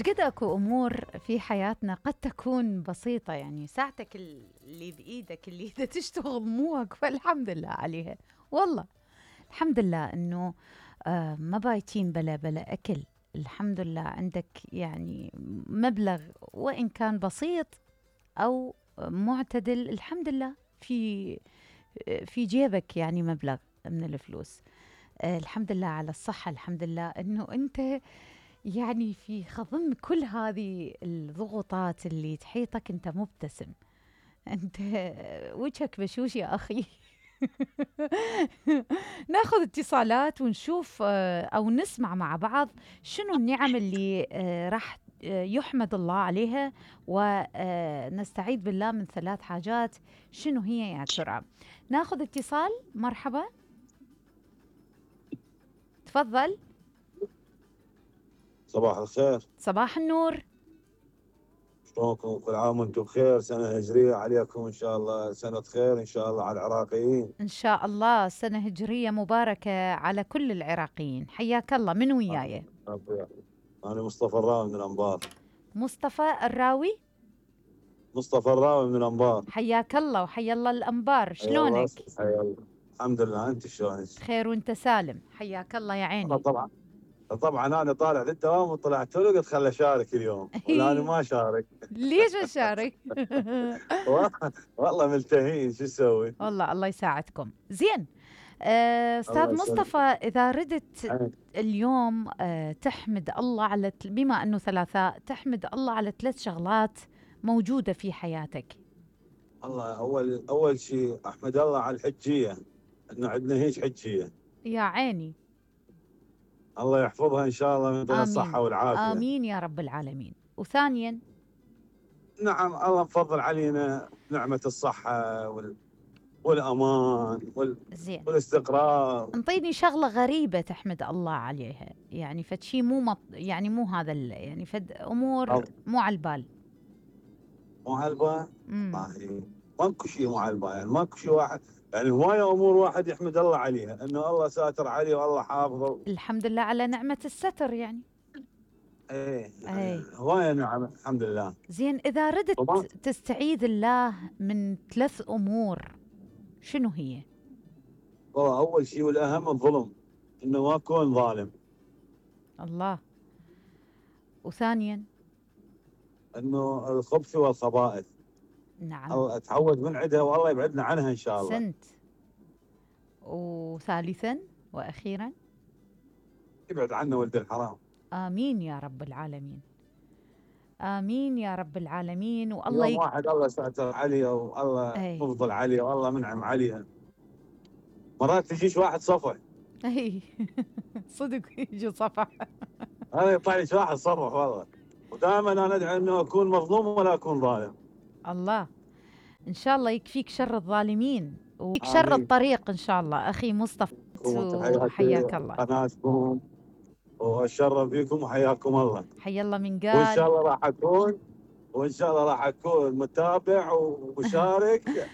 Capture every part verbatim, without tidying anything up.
شقد اكو امور في حياتنا قد تكون بسيطه، يعني ساعتك اللي بايدك اللي اذا تشتغل موك، فالحمد لله عليها. والله الحمد لله انه آه ما بايتين بلا بلا اكل. الحمد لله عندك يعني مبلغ وان كان بسيط او معتدل، الحمد لله في في جيبك يعني مبلغ من الفلوس. آه الحمد لله على الصحه، الحمد لله انه انت يعني في خضم كل هذه الضغوطات اللي تحيطك انت مبتسم، انت وجهك بشوش يا اخي. ناخذ اتصالات ونشوف او نسمع مع بعض شنو النعم اللي راح يحمد الله عليها، ونستعيذ بالله من ثلاث حاجات. شنو هي يا ترى؟ ناخذ اتصال. مرحبا، تفضل. صباح الخير. صباح النور. شلونكم؟ كل عام وانتم بخير، سنة هجرية عليكم إن شاء الله، سنة خير إن شاء الله على العراقيين. إن شاء الله سنة هجرية مباركة على كل العراقيين. حياك الله، من وياي؟ أنا مصطفى الراوي من الأنبار. مصطفى الراوي؟ مصطفى الراوي من الأنبار. حياك الله وحيا الله الأنبار، شلونك؟ حيا الله، الحمد لله، أنت شلونك؟ خير وأنت سالم، حياك الله يا عيني. طبعا طبعا أنا طالع للدوام وطلعت له قلت خل أشارك اليوم، ولا أنا ما أشارك. ليش أشارك؟ والله ملتهين، شو اسوي؟ والله الله يساعدكم. زين آه، استاذ مصطفى، اذا ردت اليوم آه، تحمد الله على، بما انه ثلاثاء، تحمد الله على ثلاث شغلات موجوده في حياتك. الله اول اول شيء احمد الله على الحجيه، انه عندنا هيك حجيه. يا عيني. الله يحفظها ان شاء الله من دون الصحه والعافيه. امين يا رب العالمين. وثانيا، نعم الله مفضل علينا نعمه الصحه وال والامان وال... زين. والاستقرار. انطيني شغله غريبه تحمد الله عليها، يعني فد شيء مو مط... يعني مو هذا ال... يعني فد امور أو. مو على البال. مو على البال؟ ما ماكو شيء مو على البال، يعني ماكو شيء واحد، يعني هوايه امور واحد يحمد الله عليها، انه الله ساتر عليه والله حافظه. الحمد لله على نعمه الستر يعني. ايه يعني هوايه نعم الحمد لله. زين اذا ردت طبعا تستعيذ الله من ثلاث امور، شنو هي؟ والله اول شيء والاهم الظلم، انه ما اكون ظالم. الله. وثانيا؟ انه الخبث والخبائث. نعم. الله اتعود من عندها والله يبعدنا عنها ان شاء الله. سنت. وثالثا واخيرا؟ يبعد عنا ولد الحرام. امين يا رب العالمين. امين يا رب العالمين. والله يوم واحد الله ساتر عليه والله مفضل عليه والله منعم عليها، مرات تجيش واحد صفح. اي صدق يجي صفح. انا يطلع لي واحد صفح والله، ودائما انا ادعي انه اكون مظلوم ولا اكون ظالم. الله ان شاء الله يكفيك شر الظالمين ويكفيك شر الطريق ان شاء الله. اخي مصطفى حياك الله. قناتكم واتشرف بكم وحياكم الله. حيا الله من قال. وان شاء الله راح اكون وان شاء الله راح اكون متابع ومشارك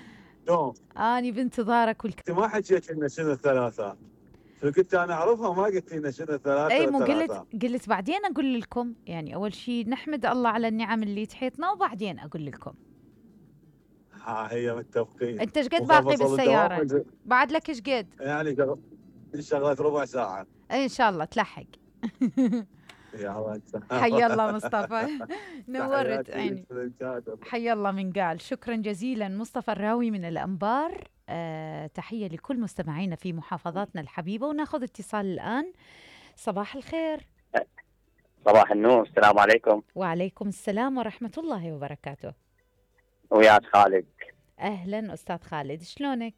دوم. اني بانتظارك. انت ما حكيت لنا شنو الثلاثاء، شو كنت انا اعرفها وما قلت لنا شنو الثلاثاء. اي مو قلت قلت بعدين اقول لكم، يعني اول شيء نحمد الله على النعم اللي تحيطنا وبعدين اقول لكم. ها هي متفقين. انت ايش قد باقي بالسياره؟ بعد لك ايش قد؟ يعني شغلت ربع ساعه. اي ان شاء الله تلحق. يا الله حيا الله مصطفى، نورت عيني. حيا الله من قال. شكرا جزيلا مصطفى الراوي من الأنبار. أه تحية لكل مستمعينا في محافظاتنا الحبيبة. وناخذ اتصال الآن. صباح الخير. صباح النور، السلام عليكم. وعليكم السلام ورحمة الله وبركاته. وياك خالد. أهلا أستاذ خالد، شلونك؟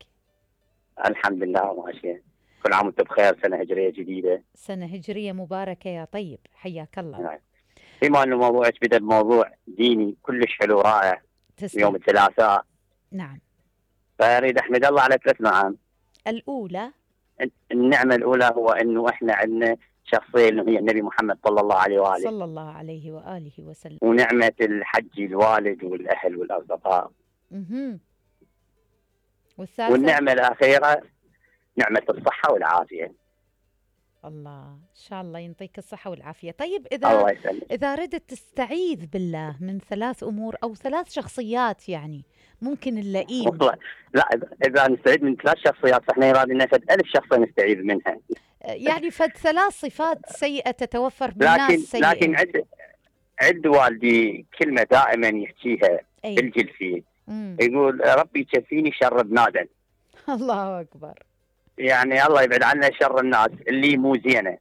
الحمد لله ماشية. كل عام وانت بخير، سنة هجرية جديدة. سنة هجرية مباركة يا طيب، حياك الله. نعم. بما انه موضوعك بدأ بموضوع ديني كلش حلو رائع. تسلم. يوم الثلاثاء. نعم. فاريد احمد الله على ثلاث نعم. الأولى، النعمة الأولى هو انه احنا عندنا شخصية اللي هي النبي محمد صلى الله عليه وآله. صلى الله عليه وآله وسلم. ونعمة الحج الوالد والأهل والأصدقاء. اها. والثالثة؟ والنعمة الأخيرة نعمة الصحة والعافية. الله ان شاء الله ينطيك الصحة والعافية. طيب اذا الله يسلمك. اذا ردت تستعيذ بالله من ثلاث امور او ثلاث شخصيات يعني ممكن نلاقيهم. والله لا، اذا نستعيد من ثلاث شخصيات فاحنا يراد لنا فد ألف شخصيه نستعيذ منها. يعني فد ثلاث صفات سيئة تتوفر لكن بالناس سيئة. لكن عند عند والدي كلمه دائما يحكيها أي. الجلسي، مم. يقول ربي يكفيني شر بنادم. الله اكبر. يعني الله يبعد عنا شر الناس اللي مو زينه.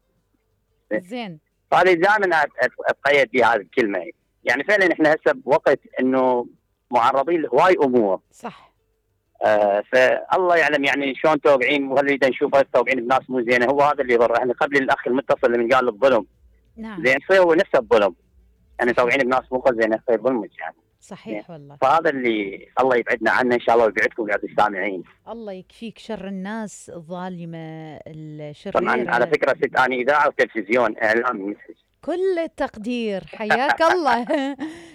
زين. فهذه دائما اتقيد بهذه الكلمه. يعني فعلا احنا هسه بوقت انه معرضين لهواي امور. صح. آه فالله يعلم يعني شلون توقعين، وهل نريد نشوفه توقعين بناس مو زينه، هو هذا اللي يضر. احنا قبل الاخ المتصل اللي قال الظلم. نعم. زين يصير هو نفسه الظلم. يعني توقعين بناس مو زينه يصير ظلمك يعني. صحيح والله. فهذا اللي الله يبعدنا عنه ان شاء الله ويبعدكم يا السامعين. الله يكفيك شر الناس الظالمه الشريره. طبعا على فكره ست اني اذاعه وتلفزيون اعلام مثل. كل التقدير، حياك الله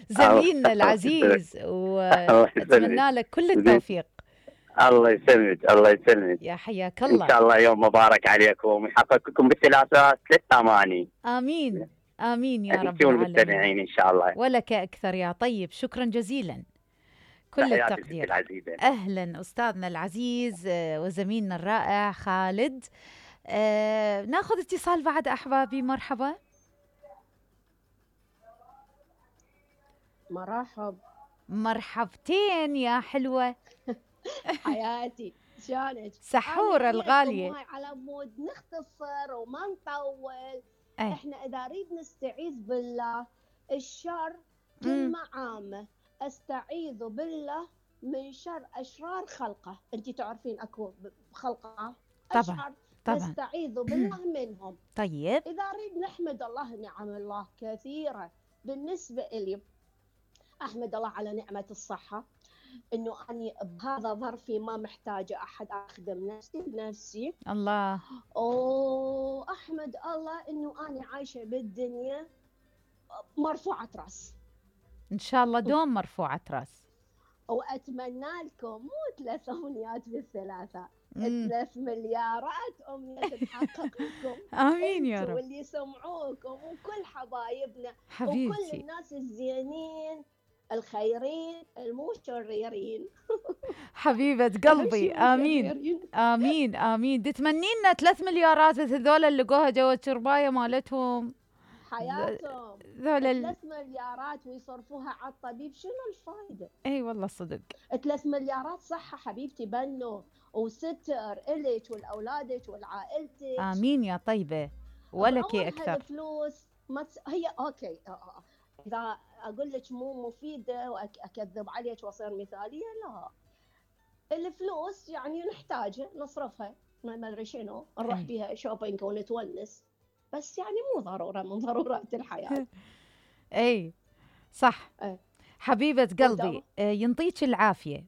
زميلنا العزيز، واتمنى لك كل التوفيق. الله يسلمك الله يسلمك. يا حياك الله. ان شاء الله يوم مبارك عليكم ويحقق لكم بالثلاثات ثلاث اماني. امين امين يا رب العالمين ان شاء الله. ولك اكثر يا طيب، شكرا جزيلا. كل التقدير. اهلا استاذنا العزيز وزميلنا الرائع خالد. آه ناخذ اتصال بعد احبابي. مرحبا. مرحب. مرحبتين يا حلوة. حياتي شلونك؟ سحورة الغالية. على مود نختصر وما نطول. أي. احنا اذا نريد نستعيذ بالله الشر كلمة عامة، استعيذ بالله من شر اشرار خلقه. انت تعرفين اكو خلقه طبعا طبعا نستعيذ بالله منهم. طيب اذا نريد نحمد الله، نعم الله كثيرة. بالنسبة لي احمد الله على نعمة الصحة، انه اني بهذا ظرفي ما محتاجة احد، اخدم نفسي بنفسي. الله. واحمد الله انه اني عايشة بالدنيا مرفوعة راس. ان شاء الله دوم مرفوعة راس. واتمنى لكم مو ثلاث امنيات بالثلاثة، ثلاث مليارات امنية تتحقق لكم. امين يا رب. واللي يسمعوكم وكل حبايبنا حبيبتي وكل الناس الزينين الخيرين المو شريرين. حبيبة قلبي. امين امين امين. تتمنين لنا ثلاث مليارات هذول اللي لقوها جوا الشربايه مالتهم حياتهم ذول ثلاث مليارات ويصرفوها على الطبيب، شنو الفائده؟ اي والله صدق. ثلاث مليارات صحه حبيبتي بنو وستر الك ولاولادك ولعائلتك. امين يا طيبه. ولك اكثر. الفلوس ما تس... هي اوكي. اذا اقول لك مو مفيده واكذب عليك واصير مثاليه، لا. الفلوس يعني نحتاجها نصرفها، ما ادري شنو نروح بيها شوبينج ونتونس، بس يعني مو ضروره من ضرورات الحياه. اي صح. أي. حبيبه قلبي ينطيك العافيه.